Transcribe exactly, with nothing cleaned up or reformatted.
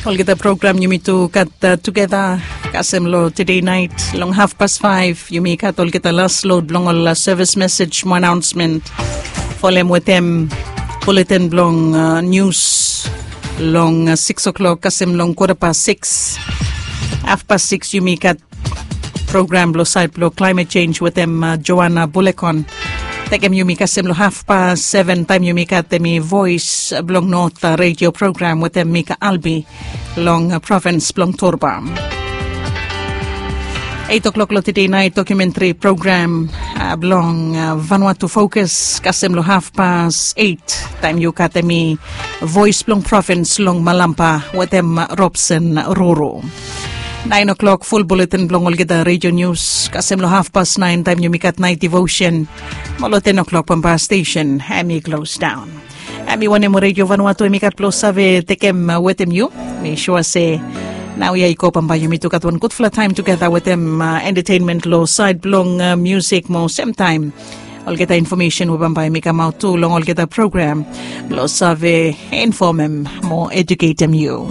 Olgeta program yumi tu gat tugeta kasem long tede nait long hafpas faiv, yumi gat olgeta las lod blong ol sevis mesej mo anaonsmen. Folem wetem buletin blong nius long siks o'klok kasem long kwata pas siks. Hafpas siks yumi gat program blong sait blong klaimet sens wetem Joana Bulekon. Tekem yumi kasem long hafpas seven taem yumi gat em i voes blong not redio program wetem Mika Albi long provins blong Torba. Eit o'klok long tede nait dokumentri program blong Vanuatu Fokus kasem long hafpas eit taem yu gat em i voes blong provins long Malampa wetem Robson Ruru. Naen o'klok ful buletin blong olgeta redio nius kasem long hafpas naen taem yumi gat nait divosen. Mo long ten o'klok bambae stesen em i klos daon. Em i wanem redio Vanuatu em i gat blong save tekem wetem yu. Mi sua se nao ya i go bambae yumi tu gat wan gudfala taem tugeta wetem entetenmen long sait blong musik mo semtaem olgeta infomesen we bambae mi kamaot tu long olgeta program blong save infomem mo ejuketem yu.